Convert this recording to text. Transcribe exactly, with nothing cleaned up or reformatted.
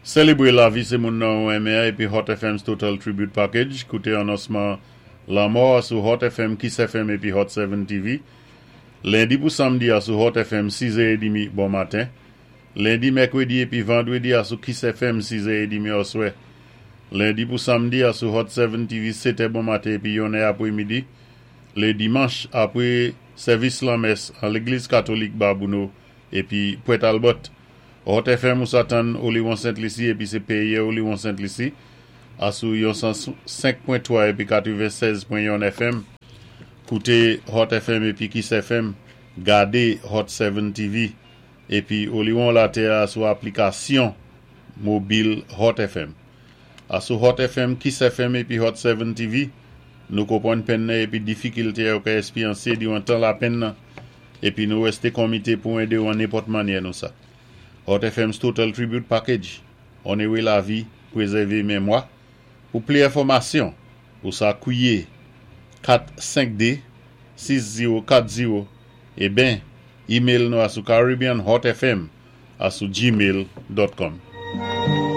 Sélébwé lavi sé moun nan ou renmen épi Hot F M's Total Tribute Package. Kouté anonsman lanmò sou Hot F M, Kiss F M épi Hot sept T V. Lendi pou samdi a sou Hot F M sis è trant bon maten. Lendi, mèkwédi épi vandwédi a sou Kiss F M sis è trant oswè. Lendi pou samdi a sou Hot sept T V sèt è bon maten épi yon è apwé midi. Lé dimanch apwé sèvis lanmès an légliz katolik Babouno épi Pwèt Albert. Hot F M ou sa tann Oliwon Sent Lisi épi sé péyé Oliwon Sent Lisi a sou yon san senk pwen twa épi katwennsèz pwen yon F M. Kouté Hot F M épi Kiss F M, gadé Hot sept T V épi Oliwon Latè a sou aplikasyon mobil Hot F M. A sou Hot F M, Kiss F M épi Hot sept T V, nou konpwann penn nan épi difikilté yo ka espéryansé diwan tan lapenn nan épi nou wèsté konmité pou édé ou an nenpòt mannyè nou sa. Hot F M's Total Tribute Package, onoré lavi, pwézèvé mémwa. Pou pli enfòmasyon, ou sa kwié kat senk de sis zewo kat zewo é ben email nou a sou caribbeanhotfm a sou gmail dot com.